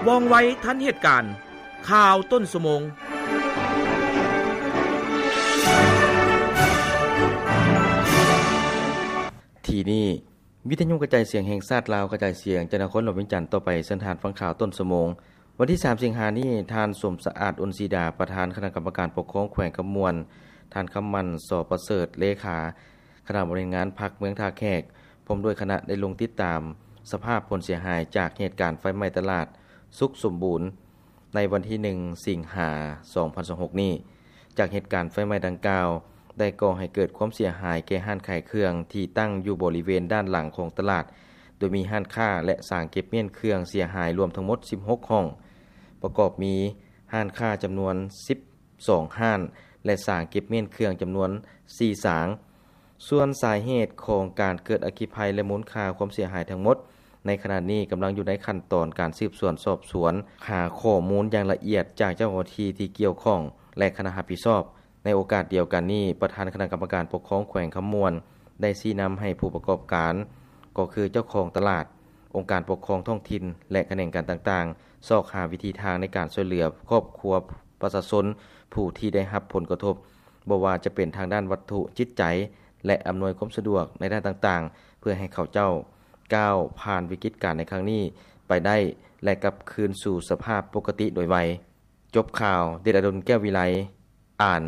ວ່ອງໄວທັນເຫດການ. ຂ່າວຕົ້ນຊົ່ວໂມງ. ທີ່ນີ້ ວິທະຍຸກະຈາຍສຽງແຫ່ງຊາດລາວ ກະຈາຍສຽງຈາກນະຄອນຫຼວງວຽງຈັນ. ຕໍ່ໄປເຊີນທ່ານຟັງຂ່າວຕົ້ນຊົ່ວໂມງ. ວັນທີສາມ ສິງຫານີ້, ທ່ານ ສົມສະອາດ ອຸ່ນສີດາ ປະທານຄະນະກຳມະການປົກຄອງແຂວງຄຳມ່ວນ, ທ່ານ ຄຳໝັ້ນ ສໍປະເສີດ ເລຂາຄະນະບໍລິຫານງານພັກເມືອງທ່າແຂກ ພ້ອມດ້ວຍຄະນະ ໄດ້ລົງຕິດຕາມສະພາບຜົນເສຍຫາຍຈາກເຫດການໄຟໄໝ້ຕະຫຼາດສຸກສົມບູນ ໃນວັນທີໜຶ່ງ ສິງຫາ ສອງພັນຊາວຫົກນີ້. ຈາກເຫດການໄຟໄໝ້ດັ່ງກ່າວ ໄດ້ກໍ່ໃຫ້ເກີດຄວາມເສຍຫາຍແກ່ຮ້ານຂາຍເຄື່ອງທີ່ຕັ້ງຢູ່ບໍລິເວນດ້ານຫຼັງຂອງຕະຫຼາດ, ໂດຍມີຮ້ານຄ້າ ແລະ ສາງເກັບມ້ຽນເຄື່ອງເສຍຫາຍລວມທັງໝົດສິບຫົກຫ້ອງ, ປະກອບມີຮ້ານຄ້າຈຳນວນສິບສອງຮ້ານ ແລະ ສາງເກັບມ້ຽນເຄື່ອງຈຳນວນສີ່ສາງ. ສ່ວນສາເຫດຂອງການເກີດອັກຄີໄພ ແລະ ມູນຄ່າຄວາມເສຍຫາຍທັງໝົດ ໃນຂະນະນີ້ກຳລັງຢູ່ໃນຂັ້ນຕອນການສືບສວນສອບສວນ, ຫາຂໍ້ມູນຢ່າງລະອຽດຈາກເຈົ້າໜ້າທີ່ທີ່ກ່ຽວຂ້ອງ ແລະ ຄະນະຮັບຜິດຊອບ. ໃນໂອກາດດຽວກັນນີ້, ປະທານຄະນະກຳມະການປົກຄອງແຂວງຄຳມ່ວນ ໄດ້ຊີ້ນຳໃຫ້ຜູ້ປະກອບການ, ກໍຄືເຈົ້າຂອງຕະຫຼາດ, ອົງການປົກຄອງທ້ອງຖິ່ນ ແລະ ຂະແໜງການຕ່າງໆ ຊອກຫາວິທີທາງໃນການຊ່ວຍເຫຼືອຄອບຄົວປະຊາຊົນຜູ້ທີ່ໄດ້ຮັບຜົນກະທົບ, ບໍ່ວ່າຈະເປັນທາງດ້ານວັດຖຸ, ຈິດໃຈ ແລະ ອຳນວຍຄວາມສະດວກໃນດ້ານຕ່າງໆ ເພື່ອໃຫ້ເຂົາເຈົ້າກ້າວຜ່ານວິກິດການໃນຄັ້ງນີ້ໄປໄດ້ ແລະ ກັບຄືນສູ່ສະພາບປົກກະຕິໂດຍໄວ. ຈົບຂ່າວ, ເດດອະດົນ ແກ້ວວິໄລ ອ່ານ.